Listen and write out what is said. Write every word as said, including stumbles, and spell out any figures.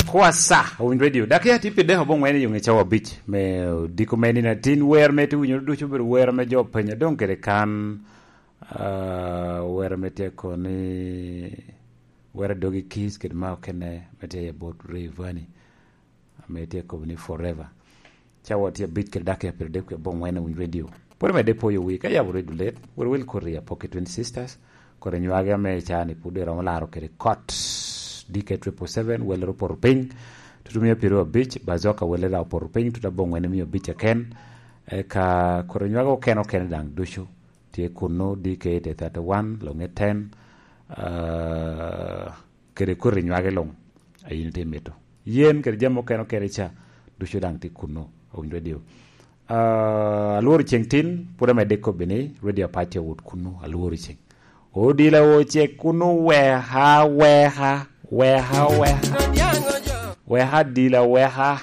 Kwasa, owinjo radio. Dak ya tye pi dek oboŋwen i yoŋe cawa abic me odiko me nino atin. Wer me te winyo ducu obedo wer me jo penya doŋ kede kan, ah, wer me tye koni, wer a dogi kis kede ma okene me tye i bot Rayvanny. Ame tye kobo ni forever. Cawa tye abic kede dakika pyero adek kwe aboŋwen owinyo radio. Pwod omedde poyo wi ka yabo redo let, wel wel koti apoki Twin Sisters, kodi nywagi ame ca ni pud eromo laro kede kot. D K triple seven, welere opoto piny, tutumia pyero abic, Bazoka welere opoto piny, tuta aboŋwen mia abic aken, eka kodi nywagi okene okene daŋ ducu. Tye kuno, D K eight thirty-one, Longe ten, ah, kede koti nywagi luŋ, a yin itye mito. Yen kede jami okene okene ca, ducu daŋ tye kuno, owinyo radio. Ah, alworo ceng tin, pwod amedde kobbi ni, radio apac tye wot kuno, alworo ceng. Odila wo cek kuno, weha, weha, weha, weha. Weha dila, weha.